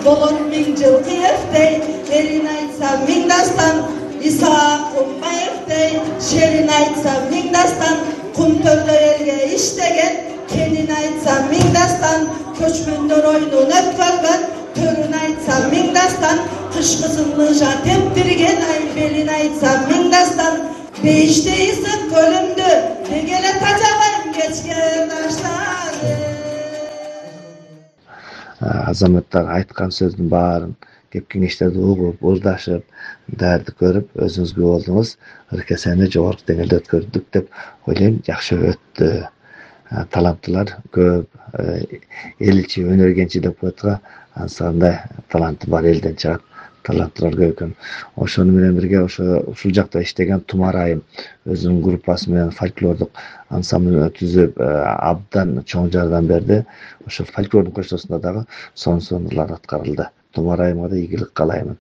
болор миң жылкы эфтей, элин айтса миң дастан, Исаак Кумбаевдей шерин айтса миң дастан, Кумтөрдө элге иштеген, кенин айтса миң дастан, көчмөндөр ойнун өткөргөн, төрүн айтса миң дастан, кышкысын лыжа тептирген, айбелин айтса миң дастан, бейиштейсиң көлүмдү, дегеле тажабайм кечкен таштарды. Азаматтар айткан сөздүн баарын, кеп кеңештерди угуп, ырдашып, дарды көрүп, өзүңүзгө болдуңуз. Ыркесени жогорку деңгээлде өткөрдүк деп ойлойм. Жакшы өттү. Таланттуулар көп. Эл ичи өнөр кенчи деп коет го. Ансандай таланты бар элден чыгат. Таланттуулар көп экен. Ошону менен бирге ушул жакта иштеген Тумар Айым өзүнүн группасы менен фольклордук ансамбль түзүп, абдан чоң жардам берди. Ошо фольклордун көчтөсүндө дагы сонун сонурлар аткарылды. Тумар Айымга да ийгилик каалаймын.